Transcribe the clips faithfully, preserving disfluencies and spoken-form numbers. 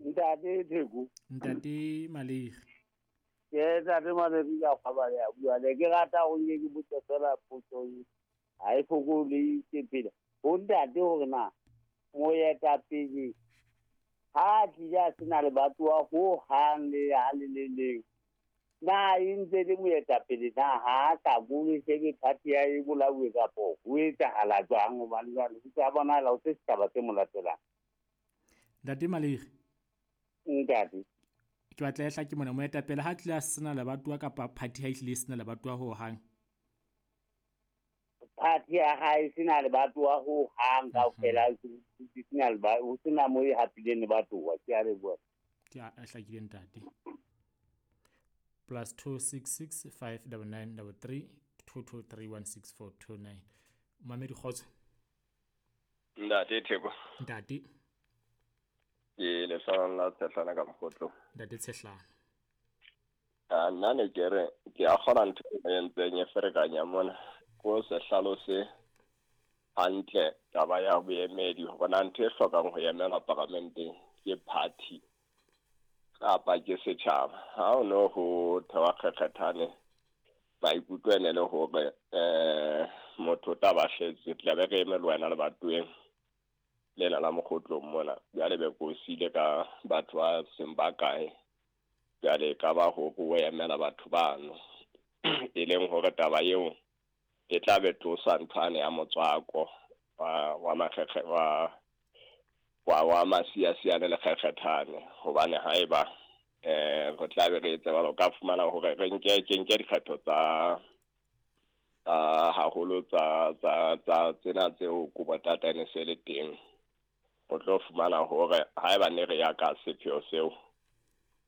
Ntate Theko. Ntate Malegi. Ke ntate Malegi ka kgabale ya bua le ke rata ho nke ke botse fela potso e. Ha e fokole ke pele. Ho ntate hore na moetapele ha tlile a sena lebatowa ho hang le ha le le leng. Na e ntse le moetapele na ha sa bue se ke party ya e bolauwe kapo ho etsahala jwang hobane jwale ho tsa bonahala ho se setjhaba se mo latelang. Ntate Malegi. Ntate. Ke batla e hlake mona moetapele ha tlile a sena lebatowa kapa party ha e hlile e sena lebatowa ho hang. Party ya hae sena lebatowa ho hang kaofela sena leba ho sena mo e hapileng lebatowa ke a leboha. Ke a hlakile ntate. Plus two six six five double nine double three two two three one six four two nine. Mamedi kgotso. Ntate Theko. Ntate. Ke lehlana la Tshehlana ka Mokgotlong. Ntate Tshehlana. Ah, nna ne ke re ke a kgona ntho e entseng e ferekanya mona. Ko se hlalose hantle taba ya boemedi hobane ntho e hlokang ho emela paramenteng ke party kapa ke setjhaba. Ha o no ho thewa kgekgethane maikutlo ene le hore eh motho o tla ba hletse tla be re eme le wena lebatoweng lena la Mokgotlong mona. Jwale be ko siile ka batho ba seng ba kae. Jwale e ka ba hore o emela batho bano e leng hore taba eo e tla be tlosa nthwane ya motswako wa wa makgekge wa wa wa masiasiane le kgekgethane hobane haeba eh re tla be re etse jwalo ka fumana hore re nke ke nke dikgetho tsa tsa haholo tsa tsa tsa tsena tseo Kobo-Tata ne se le teng. O tlo fumana hore haeba ne re ya ka sepheo seo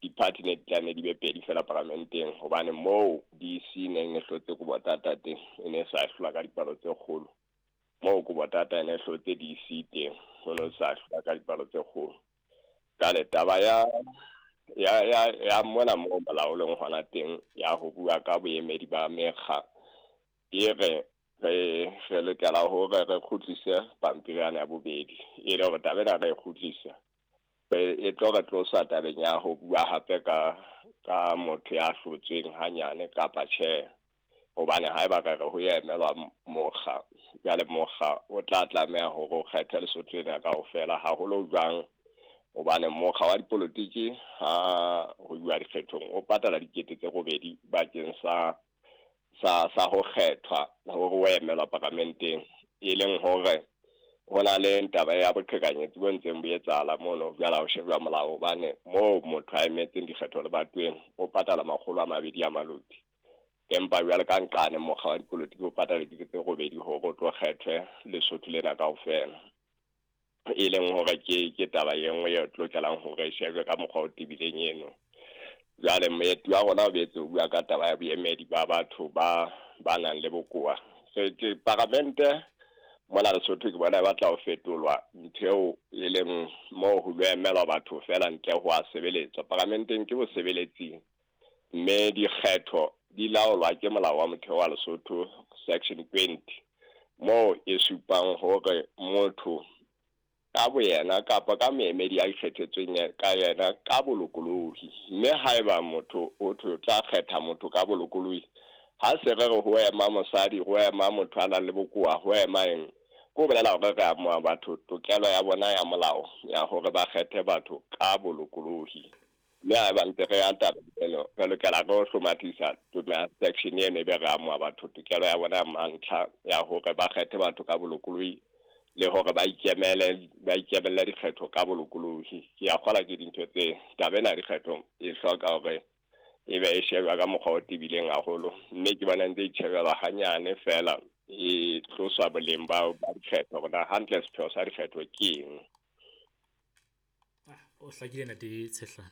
di-party ne di tlameha di be pedi fela paramenteng hobane moo D C neng e hlotse Kobo-Tata teng e ne sa hlolwa ka dipalo tse kgolo. Moo Kobo-Tata e ne hlotse D C teng ho no sa hlolwa ka dipalo tse kgolo. Jwale taba ya ya ya ya mona moo molaolong hona teng ya ho bua ka boemedi ba mekga e re re re lokela hore re kgutlise pampiri ya bobedi e le hore taba ena re e kgutlise e tlo re tlosa tabeng ya ho bua hape ka ka motho ya hlotsweng hanyane kapa tjhe hobane haeba re re ho emelwa mokga jwale mokga o tla tlameha hore o kgethe Lesotho lena kaofela haholo jwang hobane mokga wa dipolotiki ha ho bua dikgethong o patala dikete tse robedi bakeng sa sa sa ho kgethwa hore o emelwa paramenteng e leng hore ho na le taba ya boqhekanyetsi bo ntseng bo etsahala mono jwale ha o shebwa molao hobane moo motho a emetseng dikgetho lebatoweng o patala makgolo a mabedi a maloti empa jwale ka nqane mokga wa dipolotiki o patala dikete tse robedi hore o tlo kgethwe Lesotho lena kaofela e leng hore ke ke taba e nngwe e tlokelang hore e shebwe ka mokgwa o tebileng eno. Jwale moeti wa rona o boetse o bua ka taba ya boemedi ba batho ba ba nang le bokowa. So ke paramente mona Lesotho ke bona e batla ho fetolwa ntho eo e leng moo ho lo emelwa batho fela ntle ho a sebeletswa. Paramenteng ke bosebeletsing mme dikgetho di laolwa ke molao wa motheo wa Lesotho section twenty moo e supang hore motho ka boyena kapa ka moemedi a ikgethetsweng ka yena ka bolokolohi mme haeba motho o tlo tla kgetha motho ka bolokolohi ha se re re ho ema mosadi ho ema motho a nang le bokowa ho ema eng ko bolela hore re amoha batho tokelo ya bona ya molao ya hore ba kgethe batho ka bolokolohi mme haeba ntse re ya taba eno re lokela re ho hlomathisa section eno ebe re amoha batho tokelo ya bona ya mantlha ya hore ba kgethe batho ka bolokolohi le hore ba ikemele ba ikemele dikgetho ka bolokolohi. Ke a kgola ke dintho tse taba ena ya dikgetho e hloka hore e be e shebwa ka mokgwa o tebileng haholo mme ke bona ntse e itjhebelwa hanyane fela e tloswa boleng ba ba dikgetho hore na hantle sepheo sa dikgetho ke eng. Ah, o hlakile ntate Tshehlana.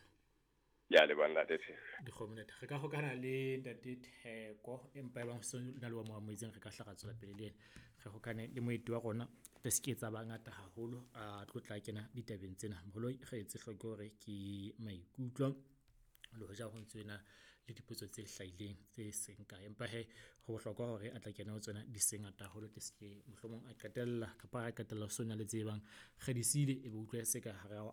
Ya leboha ntate Theko. Dikgomo ntate. Re ka hokana le ntate Theko empa ebang so na le wa mo amohetseng re ka hla ra tswela pele le ena. Re hokane le moeti wa rona re se ke tsa bangata haholo a tlo tla kena ditabeng tsena. Moloi re etse hloko hore ke maikutlo le hoja ho ntse na le dipotso tse hlahileng tse seng kae empa he ho bohlokwa hore a tla kena ho tsona di seng ngata haholo ke se mohlomong a qetella kapa a qetella ho sona le tse bang re di siile e be utlwe se ka hara